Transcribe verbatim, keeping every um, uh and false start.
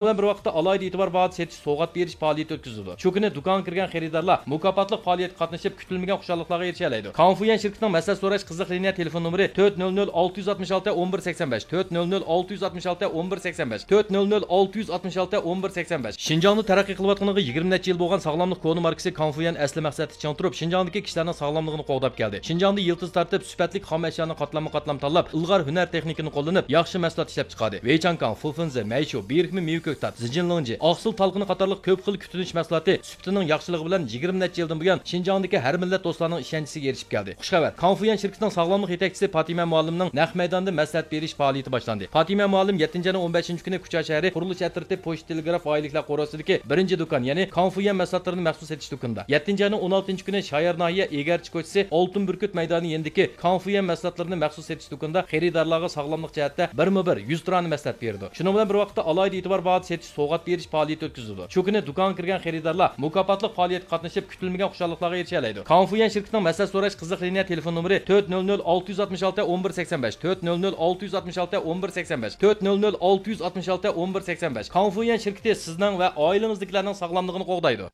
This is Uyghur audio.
بىلەن بىر ۋاقىتتا ئالاھىدە ئېتىبار باھادا سېتىش، سوۋغات بېرىش پائالىيىتى ئۆتكۈزۈلىدۇ. شۇ كۈنى دۇكانغا كىرگەن خېرىدارلار مۇكاپاتلىق پائالىيەتكە قاتنىشىپ، كۈتۈلمىگەن خۇشاللىقلارغا ئېرىشەلەيدۇ. كاڭفۇيۈەن شىركىتىنىڭ مەسلىھەت سوراش قىزىق لىنىيە تېلېفون نومۇرى تۆت نۆل نۆل ئالتە يۈز ئاتمىش ئالتە ئون بىر سەكسەن بەش، تۆت نۆل نۆل ئالتە يۈز ئاتمىش ئالتە ئون بىر سەكسەن بەش، تۆت نۆل نۆل ئالتە يۈز ئاتمىش ئالتە ئون بىر سەكسەن بەش. شىنجاڭدا تەرەققىي قىلىۋاتقىنىغا يىگىرمە نەچچە يىل بولغان ساغلاملىق كونا ماركىسى كاڭفۇيۈەن ئەسلى مەقسەتتە چىڭ تۇرۇپ، شىنجاڭدىكى كىشىلەرنىڭ ساغلاملىقىنى قوغداپ كەلدى. شىنجاڭدا يىلتىز تارتىپ، سۈپەتلىك خام ئەشيانى قاتلاممۇ قاتلام تاللاپ، ئىلغار ھۈنەر تېخنىكىنى قوللىنىپ، ياخشى مەھسۇلات ئىشلەپ چىقاردى. ۋېيچاڭكاڭ، فۇفېنزې، مەيشۇ، بىرىكمە مېۋە كۆكتات، زىجىنلىڭجى، ئاقسىل تالقىنى قاتارلىق كۆپ خىل كۈتۈنۈش مەھسۇلاتى سۈپىتىنىڭ ياخشىلىقى بىلەن يىگىرمە نەچچە يىلدىن بۇيان شىنجاڭدىكى ھەر مىللەت دوستلارنىڭ ئىشەنچىسىگە ئېرىشىپ كەلدى. خۇشخەۋەر! كاڭفۇيۈەن شىركىتىنىڭ ساغلاملىق يېتەكچىسى پاتىمە مۇئەللىمنىڭ نەق مەيداندا مەسلىھەت بېرىش پائالىيىتى باشلاندى. پاتىمە مۇئەللىم يەتتىنچى ئاينىڭ ئون بەشىنچى كۈنى كۇچا شەھىرى قۇرۇلۇش ئەترىتى پوچتا تېلېگراف ئائىلىلىكلەر قورۇسىدىكى بىرىنچى دۇكان، يەنى كاڭفۇيۈەن مەھسۇلاتلىرىنى مەخسۇس سېتىش دۇكىنىدا، يەتتىنچى ئاينىڭ ئون ئالتىنچى كۈنى شايار ناھىيە ئېگەرچى كوچىسى ئالتۇن بۈركۈت مەيدانى يېنىدىكى كاڭفۇيۈەن مەھسۇلاتلىرىنى مەخسۇس سېتىش دۇكىنىدا خېرىدارلارغا ساغلاملىق جەھەتتە بىرمۇ بىر يۈز تۇرانە مەسلىھەت بېرىدۇ. شۇنىڭ بىلەن بىر ۋاقىتتا، ئالاھىدە ئېتىبار باھادا سېتىش، سوۋغات بېرىش پائالىيىتى ئۆتكۈزۈلىدۇ. شۇ كۈنى دۇكانغا كىرگەن خېرىدارلار مۇكاپاتلىق پائالىيەتكە قاتنىشىپ، كۈتۈلمىگەن خۇشاللىقلارغا ئېرىشەلەيدۇ. كاڭفۇيۈەن شىركىتىنىڭ مەسلىھەت سوراش قىزىق لىنىيە تېلېفون نومۇرى تۆت نۆل نۆل ئالتە يۈز ئاتمىش ئالتە ئون بىر سەكسەن بەش، تۆت نۆل نۆل ئالتە يۈز ئاتمىش ئالتە ئون بىر سەكسەن بەش، تۆت نۆل نۆل ئالتە يۈز ئاتمىش ئالتە ئون بىر سەكسەن بەش. كاڭفۇيۈەن شىركىتى سىزنىڭ ۋە ئائىلىڭىزدىكىلەرنىڭ ساغلاملىقىنى قوغدايدۇ.